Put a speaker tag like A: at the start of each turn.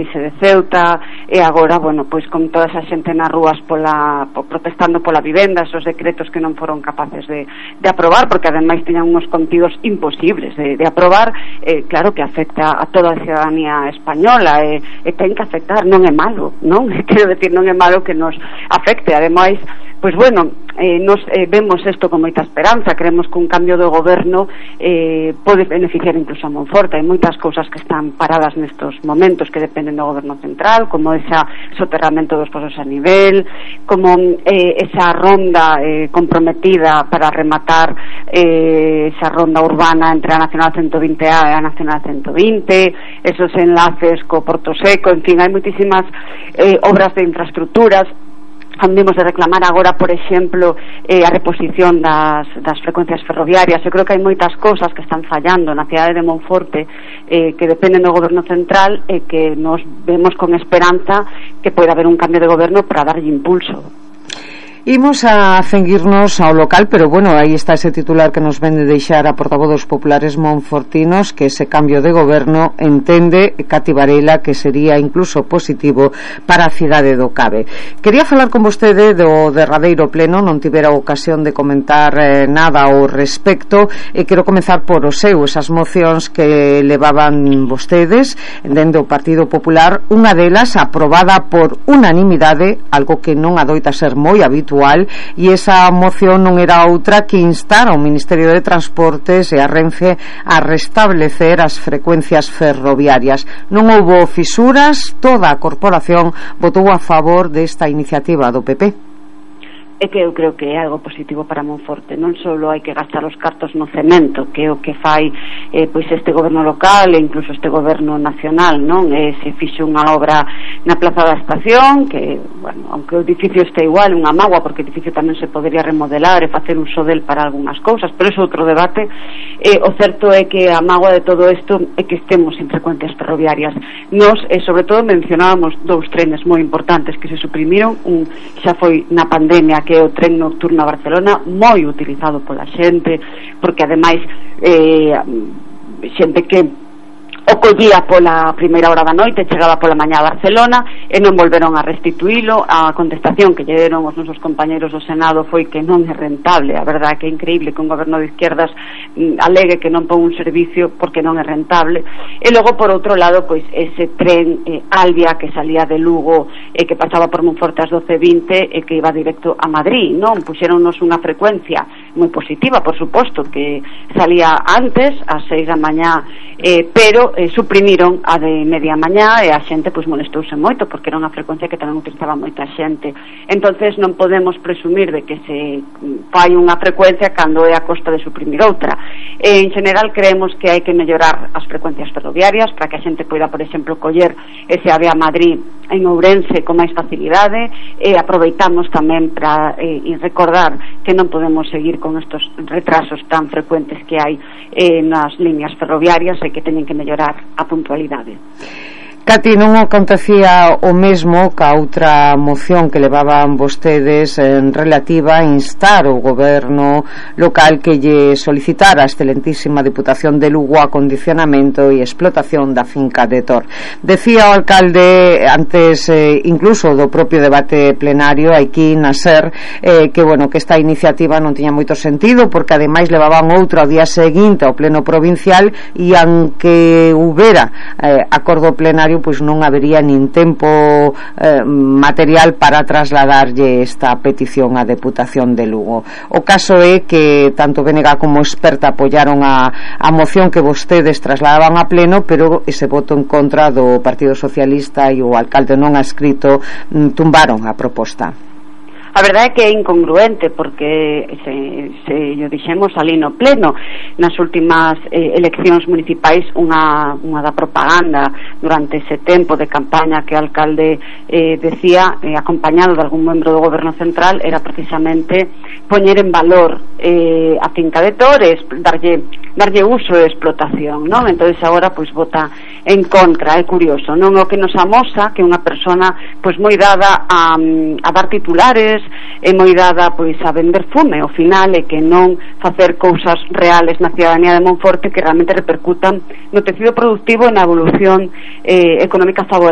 A: crise de Ceuta, e agora, bueno, pois con toda esa xente nas rúas protestando pola vivenda, esos decretos que non foron capaces de aprobar, porque ademais teñan uns contidos imposibles de aprobar, claro que afecta a toda a ciudadanía española, e ten que afectar, non é malo, non? Quero decir, non é malo que nos afecte, ademais, pois bueno, nos vemos isto con moita esperanza, creemos que un cambio de goberno pode beneficiar incluso a Monforte. Hai moitas cousas que están paradas nestos momentos que dependen do goberno central, como ese soterramento dos pozos a nivel, como esa ronda comprometida para rematar esa ronda urbana entre a Nacional 120A e a Nacional 120, esos enlaces co Porto Seco, en fin, hai moitísimas obras de infraestructuras. Andemos de reclamar agora, por exemplo, a reposición das frecuencias ferroviarias. Eu creo que hai moitas cousas que están fallando na cidade de Monforte que dependen do goberno central e que nos vemos con esperanza que pode haber un cambio de goberno para darlle impulso.
B: Imos a ceñirnos ao local, pero bueno, aí está ese titular que nos ven de deixar a portavoz dos populares monfortinos, que ese cambio de goberno entende Cati Varela que sería incluso positivo para a cidade do Cabe. Quería falar con vostede do derradeiro pleno, non tivera ocasión de comentar nada ao respecto, e quero comezar por o seu, esas mocións que levaban vostedes dende o Partido Popular, unha delas aprobada por unanimidade, algo que non adoita ser moi habitual, e esa moción non era outra que instar ao Ministerio de Transportes e a Renfe a restablecer as frecuencias ferroviarias. Non houbo fisuras, toda a corporación votou a favor desta iniciativa do PP.
A: É que eu creo que é algo positivo para Monforte. Non só hai que gastar os cartos no cemento, que é o que fai pois este goberno local e incluso este goberno nacional, non? Se fixo unha obra na Plaza da Estación, que, bueno, aunque o edificio este igual, unha mágoa, porque o edificio tamén se podría remodelar e facer uso del para algunhas cousas, pero é outro debate. O certo é que a mágoa de todo isto é que estemos sin frecuencias ferroviarias. Nos, sobre todo, mencionábamos dous trenes moi importantes que se suprimiron. Un xa foi na pandemia, que é o tren nocturno a Barcelona, moi utilizado pola xente, porque ademais xente que o collía pola primeira hora da noite, chegaba pola mañá a Barcelona e non volveron a restituílo. A contestación que lle deron os nosos compañeros do Senado foi que non é rentable. A verdade é que é increíble que un goberno de izquierdas alegue que non pon un servicio porque non é rentable. E logo, por outro lado, pois ese tren Albia que salía de Lugo e que pasaba por Monforte ás 12:20 e que iba directo a Madrid, non? Puxéronnos unha frecuencia moi positiva, por suposto, que salía antes, ás 6 da mañá, pero suprimiron a de media mañá e a xente pois molestouse moito porque era unha frecuencia que tamén utilizaba moita xente. Entonces non podemos presumir de que se fai unha frecuencia cando é a costa de suprimir outra. En general creemos que hai que mellorar as frecuencias ferroviarias para que a xente poida, por exemplo, coller ese AVE a Madrid en Ourense con máis facilidade, e aproveitamos tamén para recordar que non podemos seguir con estos retrasos tan frecuentes que hai nas líneas ferroviarias e que teñen que mellorar a puntualidade.
B: Cati, non acontecía o mesmo ca outra moción que levaban vostedes en relativa a instar o goberno local que lle solicitara a excelentísima Deputación de Lugo acondicionamento e explotación da finca de Tor. Decía o alcalde antes incluso do propio debate plenario aquí na SER que bueno, que esta iniciativa non tiña moito sentido porque ademais levaban outro ao día seguinte ao pleno provincial e aunque houbera acordo plenario, pois non habería nin tempo material para trasladarlle esta petición á Deputación de Lugo. O caso é que tanto BNG como Experta apoiaron a moción que vostedes trasladaban a pleno, pero ese voto en contra do Partido Socialista e o alcalde non adscrito tumbaron a proposta.
A: A verdade é que é incongruente porque se yo dixemos ali no pleno nas últimas eleccións municipais unha da propaganda durante ese tempo de campaña que o alcalde decía, acompañado de algún membro do goberno central, era precisamente poñer en valor a finca de Tores, darlle uso e explotación, non? Entonces agora pois vota en contra. É curioso, non? O que nos amosa que unha persona pois moi dada a dar titulares, é moi dada pois a vender fume, ao final é que non facer cousas reales na ciudadanía de Monforte que realmente repercutan no tecido productivo e na evolución económica favorable